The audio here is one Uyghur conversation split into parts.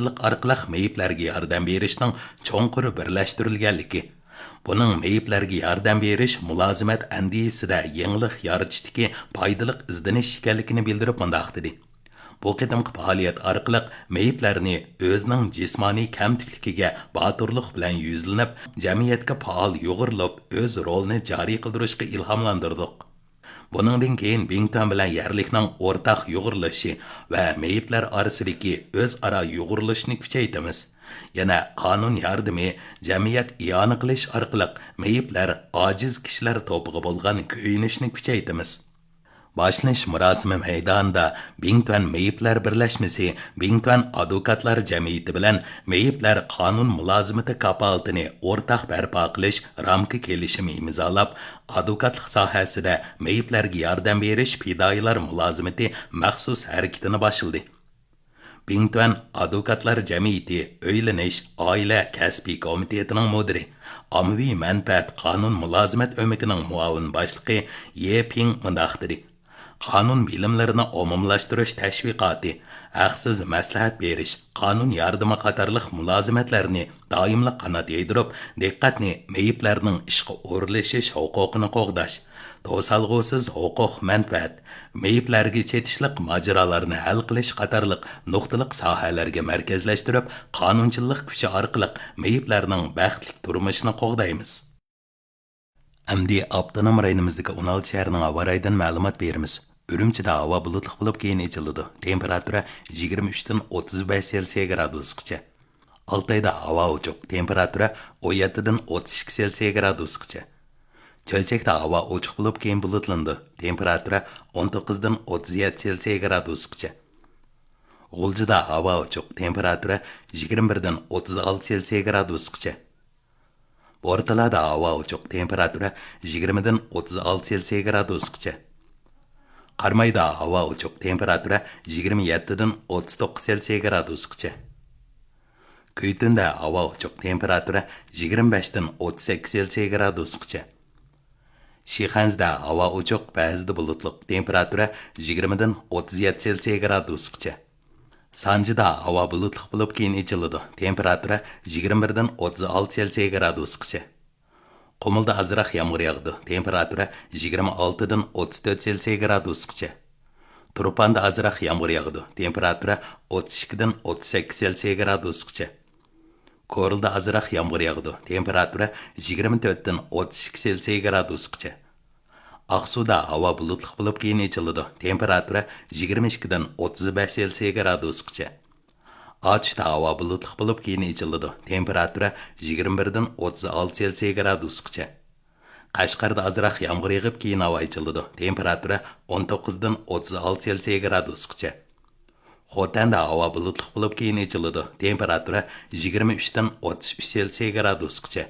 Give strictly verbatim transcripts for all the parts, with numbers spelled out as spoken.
ئارقىلىق مېيىپلەرگە ياردەم بېرىشنىڭ چوڭقۇر بىرلەشتۈرۈلگەنلىكى، بۇنىڭ مېيىپلەرگە ياردەم بېرىش مۇلازىمەت ئەندىزىسىدە يېڭىلىق يارىتىشتىكى پايدىلىق ئىزدىنىش ئىكەنلىكىنى بىلدۈرۈپ مۇنداق دېدى: بۇ قېتىمقى پائالىيەت ئارقىلىق مېيىپلەرنى ئۆزىنىڭ جىسمانىي كەمتۈكلۈكىگە باتۇرلۇق بىلەن يۈزلىنىپ، جەمئىيەتكە پائال يۇغۇرۇلۇپ، ئۆز رولىنى جارى قىلدۇرۇشقا ئىلھاملاندۇردۇق. بۇنىڭدىن كېيىن بىڭتۈەن بىلەن يەرلىكنىڭ ئورتاق يۇغۇرۇلۇشى ۋە مېيىپلەر ئارىسىدىكى ئۆزئارا يۇغۇرۇلۇشنى كۈچەيتىمىز. يەنە قانۇن ياردىمى، جەمئىيەت ئىئانە قىلىش ئارقىلىق مېيىپلەر، ئاجىز كىشىلەر توپىغا بولغان كۆيۈنۈشنى كۈچەيتىمىز. باشلىنىش مۇراسىمى مەيدانىدا بىڭتۈەن مېيىپلەر بىرلەشمىسى بىڭتۈەن ئادۋوكاتلار جەمئىيىتى بىلەن مېيىپلەر قانۇن مۇلازىمىتى كاپالىتىنى ئورتاق بەرپا قىلىش رامكا كېلىشىمى ئىمزالاپ، ئادۋوكاتلىق ساھەسىدە مېيىپلەرگە ياردەم بېرىش پىدائىيلار مۇلازىمىتى مەخسۇس ھەرىكىتىنى باشلىدى. بىڭتۈەن ئادۋوكاتلار جەمئىيىتى ئۆيلىنىش، ئائىلە، كەسپىي كومىتېتىنىڭ مۇدىرى، ئاممىۋى مەنپەئەت قانۇن مۇلازىمەت ئۆمىكىنىڭ مۇئاۋىن باشلىقى يې پىڭ مۇنداق دېدى: قانۇن بىلىملىرىنى ئومۇملاشتۇرۇش تەشۋىقاتى، ھەقسىز مەسلىھەت بېرىش، قانۇن ياردىمى قاتارلىق مۇلازىمەتلەرنى دائىملىق قانات يايدۇرۇپ، دىققەتنى مېيىپلەرنىڭ ئىشقا ئورۇنلىشىش ھوقۇقىنى قوغداش، توسالغۇسىز ھوقۇق مەنپەئەت، مېيىپلەرگە چېتىشلىق ماجىرالارنى ھەل قىلىش قاتارلىق نۇقتىلىق ساھەلەرگە مەركەزلەشتۈرۈپ، قانۇنچىللىق كۈچى ئارقىلىق مېيىپلەرنىڭ بەختلىك تۇرمۇشىنى قوغدايمىز. ئەمدى ئاپتونوم رايونىمىزدىكى ئون ئالتە شەھەرنىڭ ھاۋا رايىدىن مەلۇمات بېرىمىز. ئۈرۈمچىدە ھاۋا بۇلۇتلۇق بولۇپ، كېيىن ئېچىلىدۇ. تېمپېراتۇرا يىگىرمە ئۈچتىن ئوتتۇز بەش سېلسىيە گرادۇسقىچە. ئالتايدا ھاۋا ئوچۇق، تېمپېراتۇرا ئون يەتتىدىن ئوتتۇز ئىككى سېلسىيە گرادۇسقىچە. چۆچەكتە ھاۋا ئوچۇق بولۇپ، كېيىن بۇلۇتلىنىدۇ، تېمپېراتۇرا ئون توققۇزدىن ئوتتۇز يەتتە سېلسىيە گرادۇسقىچە. غۇلجىدا ھاۋا ئوچۇق، تېمپېراتۇرا يىگىرمە بىردىن ئوتتۇز ئالتە سېلسىيە گرادۇسقىچە. بورتالادا ھاۋا ئوچۇق، تېمپېراتۇرا يىگىرمىدىن ئوتتۇز ئالتە سېلسىيە گرادۇسقىچە. قارامايدا ھاۋا ئوچۇق، تېمپېراتۇرا يىگىرمە يەتتىدىن ئوتتۇز توققۇز سېلسىيە گرادۇسقىچە. كۈيتۈندە ھاۋا ئوچۇق، تېمپېراتۇرا يىگىرمە بەشتىن ئوتتۇز سەككىز سېلسىيە گرادۇسقىچە. شىخەنزىدە ھاۋا ئوچۇق، بەزىدە بۇلۇتلۇق، تېمپېراتۇرا يىگىرمىدىن ئوتتۇز يەتتە سېلسىيە گرادۇسقىچە. سانجىدا ھاۋا بۇلۇتلۇق بولۇپ، كېيىن ئېچىلىدۇ، تېمپېراتۇرا يىگىرمە بىردىن ئوتتۇز ئالتە سېلسىيە گرادۇسقىچە. قۇمۇلدا ئازراق يامغۇر ياغىدۇ، تېمپېراتۇرا يىگىرمە ئالتىدىن ئوتتۇز تۆت سېلسىيە گرادۇسقىچە. تۇرپاندا ئازراق يامغۇر ياغىدۇ، تېمپېراتۇرا ئوتتۇز ئىككىدىن ئوتتۇز سەككىز سېلسىيە گرادۇسقىچە. كورلىدا ئازراق يامغۇر ياغىدۇ، تېمپېراتۇرا يىگىرمە تۆتتىن ئوتتۇز ئىككى سېلسىيە گرادۇسقىچە. ئاقسۇدا ھاۋا بۇلۇتلۇق بولۇپ، كېيىن ئېچىلىدۇ، تېمپېراتۇرا يىگىرمە ئىككىدىن ئوتتۇز بەش سېلسىيە گرادۇسقىچە. ئاتۇشتا ھاۋا بۇلۇتلۇق بولۇپ، كېيىن ئېچىلىدۇ، تېمپېراتۇرا يىگىرمە بىردىن ئوتتۇز ئالتە سېلسىيە گرادۇسقىچە. قەشقەردە ئازراق يامغۇر يېغىپ، كېيىن ھاۋا ئېچىلىدۇ، تېمپېراتۇرا ئون توققۇزدىن ئوتتۇز ئالتە سېلسىيە گرادۇسقىچە. خوتەندە ھاۋا بۇلۇتلۇق بولۇپ، كېيىن ئېچىلىدۇ، تېمپېراتۇرا يىگىرمە ئۈچتىن ئوتتۇز ئۈچ سېلسىيە گرادۇسقىچە.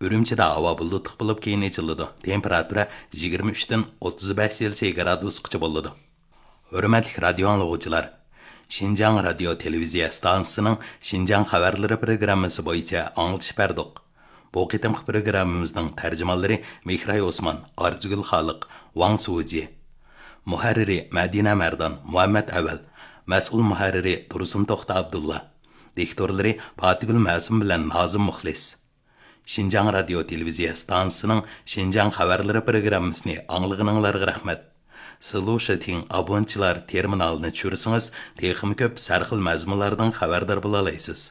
ئۈرۈمچىدە ھاۋا بۇلۇتلۇق بولۇپ، كېيىن ئېچىلىدۇ، تېمپېراتۇرا يىگىرمە ئۈچتىن ئوتتۇز بەش سېلسىيە گرادۇسقىچە بولىدۇ. ھۆرمەتلىك رادىيو ئاڭلىغۇچىلار! شىنجاڭ رادىيو تېلېۋىزىيە ئىستانسىسىنىڭ شىنجاڭ خەۋەرلىرى پروگراممىسى بويىچە ئاڭلىتىش بەردۇق. بۇ قېتىمقى پروگراممىمىزنىڭ تەرجىمانلىرى مېھراي ئوسمان، ئارزۇگۈل خالىق، ۋاڭ سۇجى. مۇھەررىرى مەدىنە مەردان، مۇھەممەت ئەۋەل. مەسئۇل مۇھەررىرى تۇرسۇن توختى ئابدۇللا. دىكتورلىرى پاتىگۈل مەسۇم بىلەن نازىم مۇخلىس. شىنجاڭ رادىيو تېلېۋىزىيە ئىستانسىسىنىڭ شىنجاڭ خەۋەرلىرى پروگراممىسىنى ئاڭلىغىنىڭلارغا رەھمەت. سىلۇشىتىڭ ئابونچىلار تېرمىنالىنى چۈشۈرسىڭىز، تېخىمۇ كۆپ سەرخىل مەزمۇنلاردىن خەۋەردار بولالايسىز.